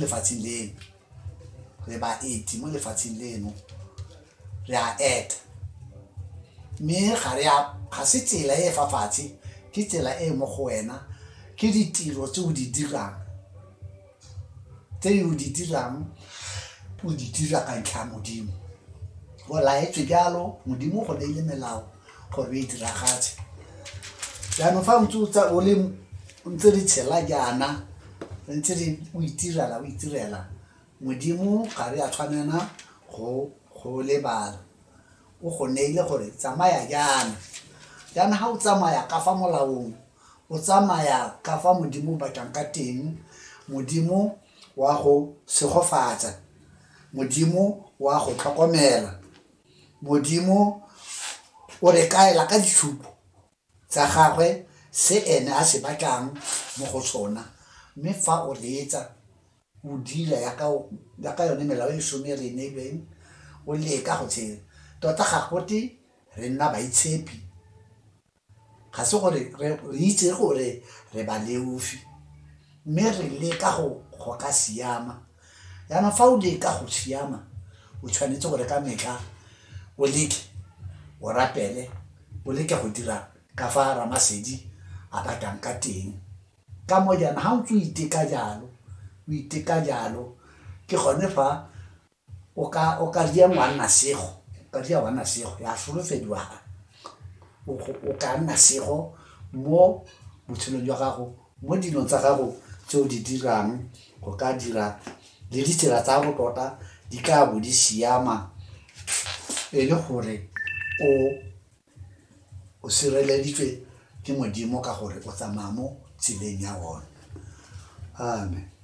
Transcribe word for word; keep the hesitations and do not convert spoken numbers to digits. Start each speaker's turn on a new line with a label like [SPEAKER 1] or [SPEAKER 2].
[SPEAKER 1] Lefatsheng leno re baeti mo lefatsheng leno, re a eta mme ga re a ga se tsela e e fa fatshe, ke tsela e mo go wena, ke ditiro tse o di dirang, tse o di dirang o di dira ka ntlha ya Modimo. O laetswe jalo, Modimo go neile melao gore o e diragatse. Jaanong fa ntse o le ntse re tshela jaana, re ntse re o itirela o itirela, Modimo ga re a tshwanela go go lebala. O go neile gore tsamaya jaana, jaana ga o tsamaya ka fa molaong, o tsamaya ka fa Modimo o batlang ka teng, Modimo wa go segofatsa, Modimo wa go tlhokomela, Modimo o re kaela ka ditshupo tsa gagwe se ene a se batlang mo go sona. Mme fa o reetsa o dira yaka yone melao e some e re e neilweng, o leka go tshela tota, ga gote re nna baitshepi, ga se gore re itse gore re baleofi, mme re leka go go ka siama. Jaanong fa o leka go siama, o tshwanetse gore ka metlha o leke o rapele, o leke go dira ka fa Ramasedi a batlang ka teng. Ka mo jaana ga o ntse o iteka jalo, o iteka jalo, ke gone fa o ka o ka ria ngwana sego, o ka ria ngwana sego ya solofediwa, o ka nna sego mo botshelong jwa gago, mo dilong tsa gago tse o di dirang, go ka dira le ditsela tsa gago tota di ka bo di siama, e le gore o o sireleditswe ke Modimo ka gore o tsamaya mo tseleng ya one. Amen.